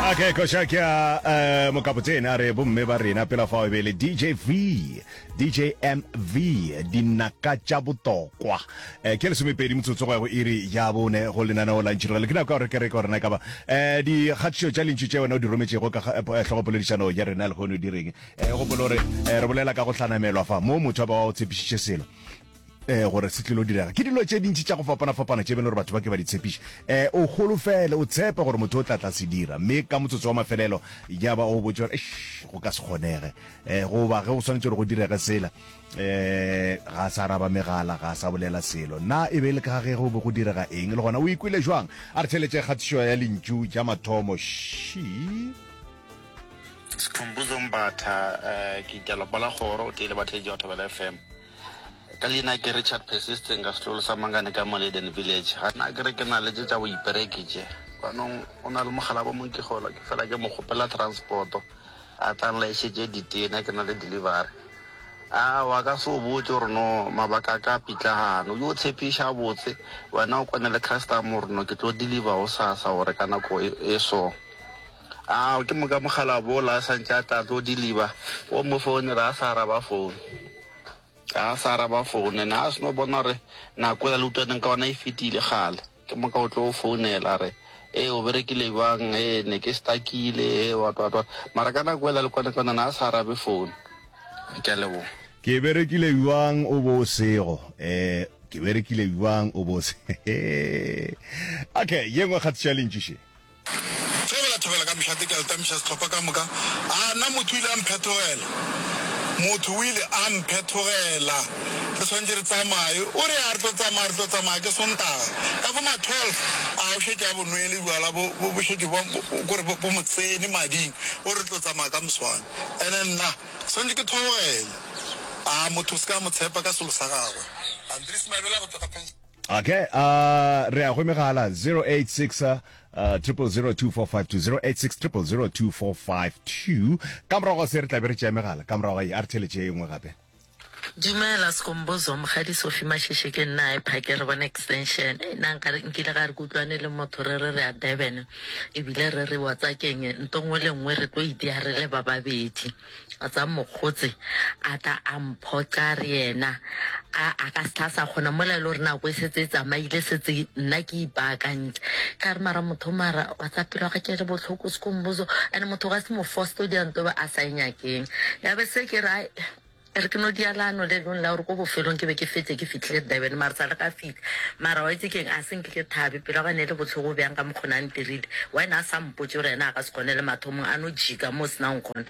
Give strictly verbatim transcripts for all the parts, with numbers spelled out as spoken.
Okay, koša ke ya uh, mokapotene a re bomme ba rena pela fao e be le D J V, D J M V, dinaka tša botokwa. um ke lesomepedi motsotso go ya go iri ya bone go lenaneo la Ntšhirogele. Ke nako ya gore ke re ka gorena e ka ba um dikgatišo tša lentšu tše wena o di rometšego ka eh, hlogopoledišano ya rena lehono di reng. um gopolo gore um re bolela ka go hlanamelwa fa mo motho a ba wa o tshepišitše selo eh gore se tlilo direga. Ke dilo tše dintši tša go fapana-fapana tše bene gore batho ba ke ba di tshepiša, um o holofele, o tshepe gore motho o tla tla se dira, mme ka motsotso wa mafelelo ya ba o botse gore go ka se kgonege, um goba ge go swanetše gore go direge sela, um ga a sa araba megala, ga a sa bolela selo. Na e be le ka ge go be go direga eng, le gona o ikwele jwang? A re theletše kgatišo ya lentšu ja mathomo ši. Sekhumbuzo Mbatha, um ke italopa la kgoro o tee le batheetši ba Thobela F M. Ka leina ke Richard Persisting, ka setlolo sa Mangane ka Moleden Village. Ga nna ke re ke na le tše tša boipereki tše banong, o na le mogala bo mong, ke gola ke fela ke mo kgopela transporto a tlang laešetše ditena, ke na le delivery. A wa ka se o botse gore no mabaka a ka pitlagano yo tshepiša botse, wena o kwane le customer gore no ke tlo deliver o sasa gore ka nako e e so. A ke moka mogala bola a santše a tla tlo deliver, o mo founela a sa araba phone, a sa araba phone, ene a seno bona gore nako ela le utlwaneng ka ona e fetile gale. Ke moka o tlo o founela re ee, o berekile bjang, ee, ne ke stakile, ee, what what what, mara ka nako ela le kwane ka ona a sa arabe phone. Ke a leboga. Ke berekile bjang o bo o sego, um ke berekile bjang o bo o se. Okay, ye nngwe kgatišo ya lentšu še. Thobela, thobela ka mošate, ke a le tamiša sehlopha ka moka. A nna motho o ile a mphetogela, motho o ile a mphetogela. Re swanetše re tsamaye, o re a re tlo tsamaya, re tlo tsamaya ke Sontaga ka bo ma twelve. A o šetše a bonwele bjala bo bo bo šetše bo kore bo bo mo tsene mading, o re tlo tsamaya ka moswane, ene nna swanetše ke theogele. A motho o se ka mo tshepa ka selo sa gagwe. Andries Mabela go tšwa ka pension. Okay, uh, re ya go megala zero eight six uh, triple zero two four five two, zero eight six triple zero two four five two. Ka morago ga se re tla be re tšea megala. Ka morago ga ye a re theletše ye nngwe gape. Dumela Sekombozo, Mokgadi Sophie Masheshe, ke nna e phake re bona extension. E nna nkare nkile ga re kutlwane le motho, re re re ya Durban, ebile re re wa tsakeng nto nngwe le nngwe re tlo itia re le ba babedi. A tsa mokgotse a tla a mphoqa re yena a a ka se tla sa kgona mola e le gore nako e setse e tsamaile, setse nna ke ipaakantse ka re mara motho mara wa tsa pelo ga ke re botlhoko Sekombozo, and motho ga se mo force o dira nto be a sa e nyakeng. Ya be se ke re ai, re ke no dialano le leng la gore ko bofelong ke be ke fetse ke fitlhile Durban, mara sa le ka fitlha, mara wa itse keng, a se nke ke thabe pelo ga ne le botlhoko bjang ka mokgona a ntirile wena a sa mpotse gore ena a ka se kgone le mathomong a no jika mo o senang kgona.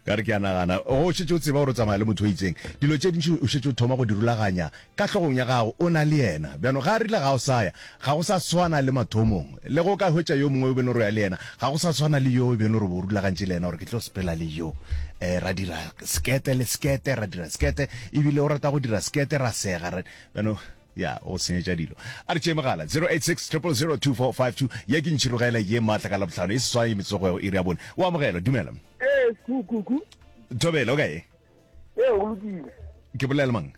Ka re ke a nagana go šetše o tseba gore o tsamaya le motho o itseng, dilo tše dintši o šetše o thoma go di rulaganya ka hlogong ya gago o na le yena. Bjano ga a rile ga o saya, ga go sa swana le mathomong. Le go ka hwetša yo mongwe o bene gore o ya le yena, ga go sa swana le yo o bene gore o rulagantše le yena gore ke tlo sepela le yo, um ra dira sekete le sekete, ra dira sekete, ebile o rata go dira sekete, ra sega re bjano ya go senyetša dilo. A re tšee megala zero eight six triple zero two four five two. Ye ke Ntšhirogele ye maatla ka Labohlano e seswai metsotso go iri ya bone. O amogelwa, dumela. Ee, kukuku. Thobele, o kae? Ee, go lokile. Ke bolela le mang?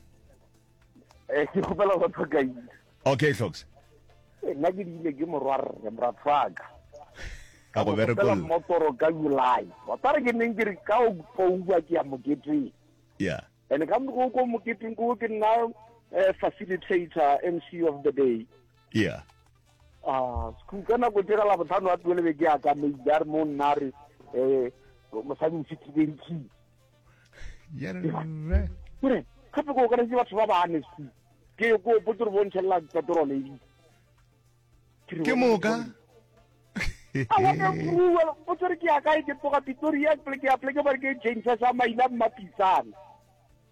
Eh, ke kgopela go tlhokaile. Okay, Hlox. Nna ke diile ke morwarre, moratho. Ka go berekolla. Motoro ka July. Wa tsare ke neng ke re ka October ke ya moketeng. Yeah. And ka mo ko moketeng ko ke nna eh, facilitator, M C of the day. Yeah. Ah, sku ka nako tse ka la botlhano wa twelve ke ya ka maile a re mo nna re eh mosadi o fitlhile dikey. Yerre. Kore gape ko ka batho ba bane sku. Ke ko potse re bontšhela petrol e. Ke moka. A wa ka bua potse re ke ya kae, ke tloga Pretoria ke ya pleke ba re ke change sa maina Mmapisana.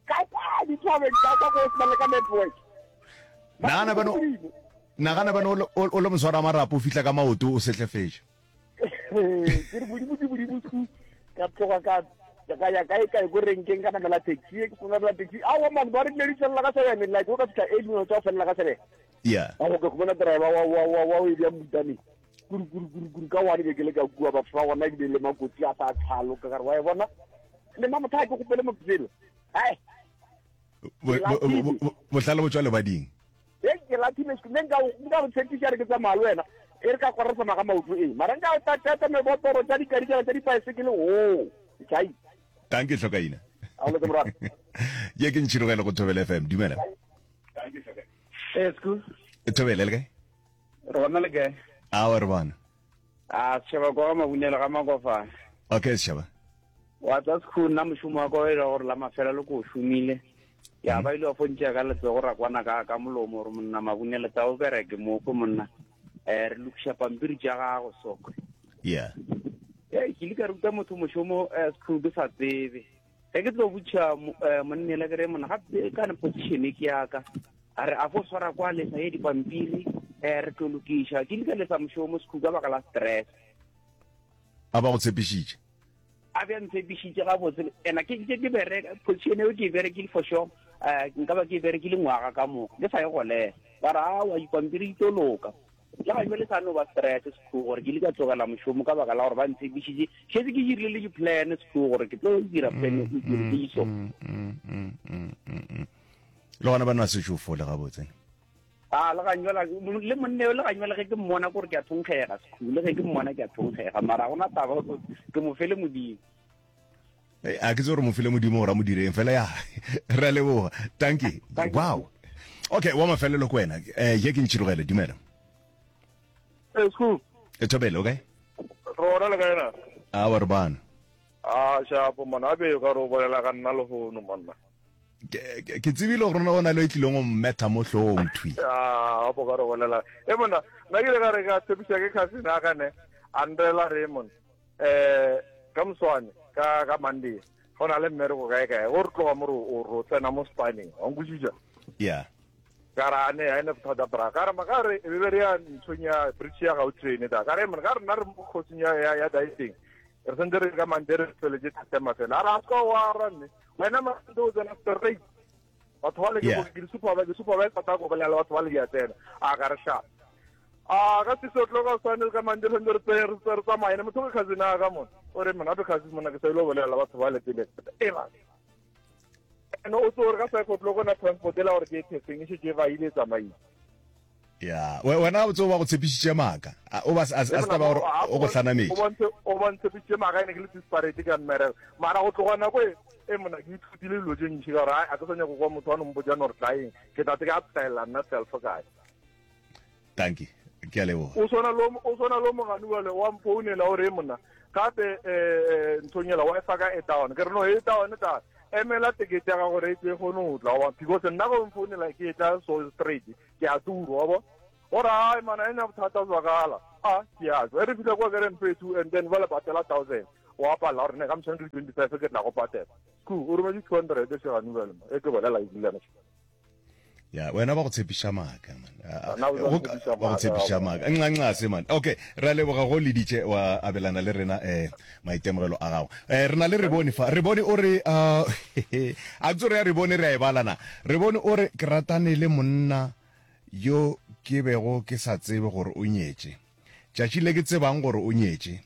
Ka kwa dithabeng ka kwa go sena le ka network. Nagana bano nagana bano o le- o le moswara marapo o fihla ka maoto o sehlefetše. Ke re modimo ke modimo sku, ka tloga ka ka ya kae kae ko renkeng, ka namela taxi, ke namela taxi awa man, ba re dile di felela ka seven, like o ka fitlha eight minutes tsa go felela ka seven. Yeah. A go ka khumana driver wa wa wa wa o e bja mmutaneng kuru kuru kuru kuru ka one be ke le ka kua batho ba gona ebile le makotsi a sa tlhalo ka gare wa e bona le ma motho a ke gopele motselo ai. Bo- bo- bo- bohlale bo tswa lebading. E ke lathile sku, nne nka nka go tshepiša re ke tsamaya le wena. E re ka kwa re tsamaya ka maoto ee mara nka tata mebotoro tša dikadikela tša dipaesekele o chai. Dankie hlokaina. A o le morwa. Ye ke ntšhirogele go Thobela F M. Dumela. Eh, sku. Thobela le kae? Re bona le kae? A re bona. A setšhaba kwa ga Mabunelo ga Makofane. Okay setšhaba. Wa tsa sekhu nna mošomo wa ka o e le gore la mafela le ko o šomile. Ya ba ile wa fontšea ka letsogo ra kwana ka ka molomo gore monna Mabunelo tsa o bereke mo ko monna. Eh re lokiša pampiri tša gago sokwe. Yeah. Eh ke ile ka ruta motho mošomo eh sekhu ke sa tsebe. Ge ke tlo botša monnela ke re monna gape ka ne position ke ya ka. A re a fo swara kwa lesa ye dipampiri eh re tlo lokiša. Ke ile ka lesa mošomo sekhu ka baka la stress. A ba go tshepišitše? A be a ntshepišitše gabotse. Ena ke ke ke bereka position eo ke e berekile for sure. Eh nka ba ke e berekile ngwaga ka moka. Ke sa ye golela. Ba re aowa dipampiri di tlo loka. Le ga jwale sa no ba stress sekhu gore ke ile ka tlogela mošomo ka baka la gore ba ntshepišitše. Šetse ke dirile le di-plan sekhu gore ke tlo dira plan e ke ke iso. Le gona ba nwa sešo fole gabotse. A le ga njwela le monne le ga njwela ge ke mmona gore ke a thonkgega sekhu le ge ke mmona ke a thonkgega mara gona taba ke mo fele modimo. A ke tse gore mo fele modimo gore a mo direng fela ya re a leboga. Dankie. Wow. Okay, wa mafelelo ko wena. Eh ye ke ntšhirogele dumela. Eh sku. E thobele okay? Rona le kae na? A wa re bana. A shapo mona a be ka re o bolela ka nna lehono monna. Ke ke tsebile gore o na le e tlileng go mmetha mo hlogong thwi. Ah, bo ka re bolela. E monna, nna ke ile ka re ka tshepiša ke cousin ya ka ne, a nrela re monna. Eh ka moswane ka ka Monday go na le mmereko kae kae go re tloga mo re o ro tsena mo spaneng wa nkwešiša. Yeah. Ka ra ne ha ene bothata bra ka re ma ka re e be re ya nthong ya bridge ya Gautrain ta ka re monna ka re nna re mo kgosing ya ya ya dieting re sentse re ka Monday re feletse thata fela a re a ska wa ra nne wena Monday o tsena straight batho ba le ke ke di super ke super ba tla go bolela batho ba le di tsena a ka re sha a ka se tlo ka swane ka Monday re re re re tsamaya ne motho ke cousin a ka mona o re mona be cousin mona ke sa ile go bolela batho ba le pele e ba no o tlo re ka five o'clock na transport ela gore ke testing e šetše ba ile tsamaile. Ya, wena o tseo ba go tshepišitše maaka. O ba a se taba gore o go hlanametše. O bontshe o ba ntshepišitše maaka ene ke le desperate ka mmereko. Mara go tloga nako e e mona ke ithutile dilo tše ntši ka gore a ke sa nyako kwa motho wa no mpotša no re tlaeng ke tla ke a tlaela nna self kae. Dankie. Ke a leboga. O swana lo o swana lo mogani wale wa mfounela o re monna gape eh nthong ela Wi-Fi ka e down ke re no e down ta emela tekete ya gago gore e tle kgone go tla wa because nna go mfounela ke tla so straight ke a turo wa bo gore ai mana ena bothata zwakala a ke a tswa re fihla kwa ke re mpe two and then ba le patela thousand wa pala gore ne ka motshwane ke twenty five ke tla go patela sku o rometse two hundred e shegane bjale e ke bolela e dulana. Ya, wena ba go tshepiša maaka man. Ba go tshepiša maaka. Nxa man. Okay, re a leboga go leditše wa abelana le rena eh maitemogelo a gago. Eh re na le Rebone fa. Rebone o re a tso re ya Rebone re a e balana. Rebone o re ke ratane le monna yo ke bego ke sa tsebe gore o nyetše. Tšatši le ke tsebang gore o nyetše.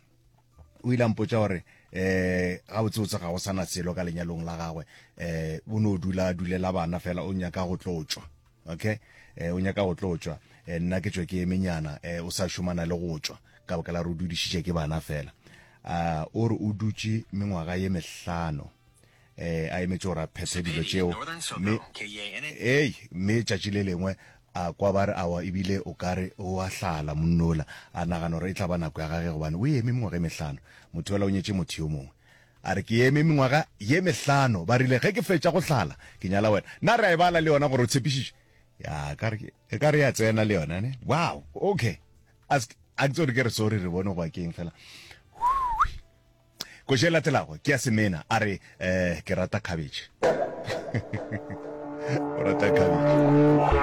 O ile a mpotša gore eh ga botse ga go sana selo ka lenyalong la gagwe eh o no dula dulela bana fela o nyaka go tlotšwa. Okay, eh o nyaka go tlotšwa eh nna ke tšwe ke emenyana eh o sa šomana le go tšwa ka baka la re o dudišitše ke bana fela. A o re o dutše mengwaga ye mehlano eh a emetse gore a phethe dilo tšeo mme ei mme tšatši le lengwe a kwa ba re awa ebile o ka re o a hlala monnola a nagana gore e tla ba nako ya gage gobane o eme mengwaga e mehlano motho yola o nyetše motho yo mongwe a re ke eme mengwaga ye mehlano ba rile ge ke fetša go hlala ke nyala wena nna re a e bala le yona gore o tshepišiše ya ka re e ka re ya tsena le yona ne wow okay a a ke tsore ke re sorry re bone go keng fela koše e latelago ke ya semena a re eh ke rata cabbage o rata cabbage.